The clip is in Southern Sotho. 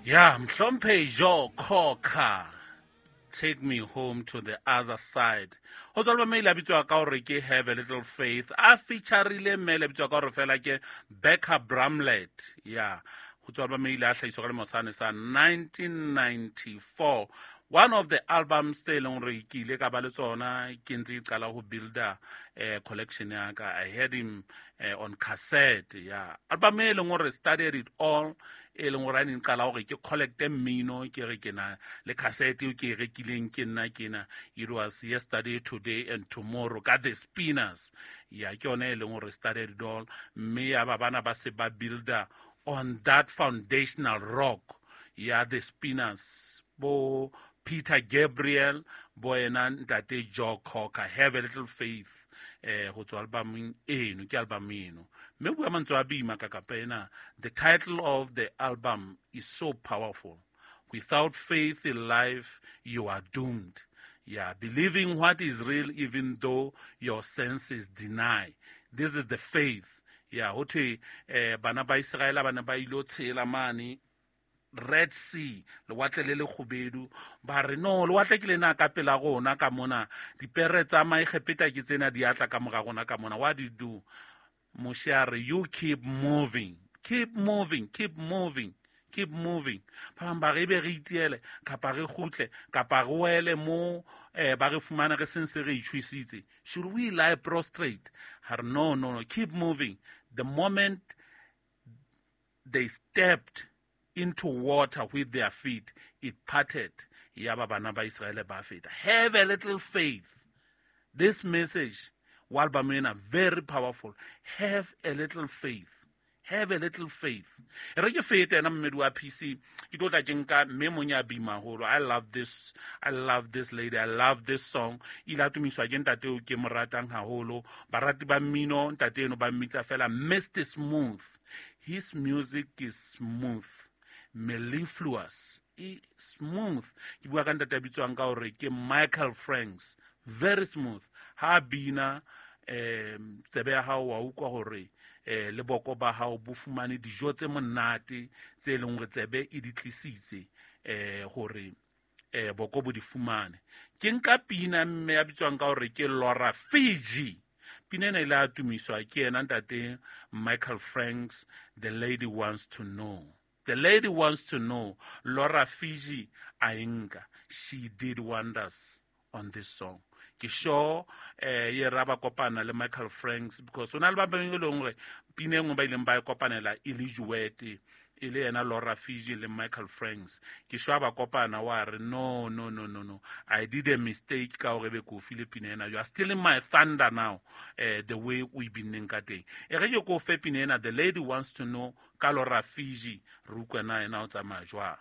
Ya Mhlomphe Joe Cocker, "Take Me Home to the Other Side", ho tswa album e ile a bitswa ka hore ke "Have a Little Faith", a featurile mme le bitswa ka hore fela ke Bekka Bramlett. Ya, ho tswa album e ile a hlahiswa ka lemo sane sa 1994, one of the albums tse e leng gore ke ile ka ba le tsona ke ntse ke qala ho builda collection ya ka. I had him on cassette. Ya, album e leng gore started it all, e leng gore a ne qala gore ke collecte mmino, ke re ke na le cassette eo ke e rekileng ke nna ke na. It was "Yesterday, Today and Tomorrow" ka The Spinners. Ya, ke yone e leng gore started it all, mme ya ba bana ba se ba builda on that foundational rock ya The Spinners, bo Peter Gabriel, bo ena ntate Joe Cocker. "Have a Little Faith" go tswa albumeng eno, ke album eno mme bua mantswe a boima ka kapa ena. The title of the album is so powerful: without faith in life, you are doomed. Yeah, believing what is real even though your senses deny. This is the faith. Yeah, ho thwe bana ba Israela ba ne ba ilo tshela mane Red Sea, lewatle le le kgubedu. Ba re, "No, lewatle ke lena ka pela rona ka mona, dipere tsa Maegepeta ke tsena di atla ka mora rona ka mona. What do you do?" Moshe a re, "You keep moving, keep moving, keep moving, keep moving." Ba bang ba re, ebe re itiele kapa re kgutle kapa re wele mo ba re fumana re sentse re itshwisitse? Should we lie prostrate? Ha re, "No, no, no, keep moving." The moment they stepped into water with their feet, it parted. Yaba bana ba Israele ba feta. Have a little faith. This message wa album ena, very powerful. Have a little faith, have a little faith. E re ke fete ena mmedi wa PC, ke tlo tla ke nka mme mong ya bima haholo. I love this, I love this lady, I love this song. Ile a tumiswa ke ntate eo ke mo ratang haholo. Barati ba mmino, ntate eno ba mmitsa fela Mr Smooth. His music is smooth, mellifluous, e smooth. Ke bua ka ntate a bitswang ka hore ke Michael Franks. Very smooth ha bina. Tsebe ya hao wa utlwa hore le boko ba hao bo fumane dijo tse monate tse leng hore tsebe e di tlisitse hore boko bo di fumane. Ke nka pina mme ya bitswang ka hore ke Laura Fygi. Pina ena ile a tumiswa ke yena ntate Michael Franks, "The Lady Wants to Know". "The Lady Wants to Know", Laura Fygi a e nka. She did wonders on this song. Ke sure ye ra ba kopana le Michael Franks, because o na le ba bangwe e leng gore pina e nngwe ba ileng ba e kopanela e le duet, e le yena Laura Fygi le Michael Franks. Ke sure ba kopana wa re, "No, no, no, no, no, I did a mistake ka gore be ko file pina ena. You are stealing my thunder now." The way o e binneng ka teng. E re ke ko fe pina ena, "The Lady Wants to Know" ka Laura Fygi, re utlwe na ena o tsamaya jwang.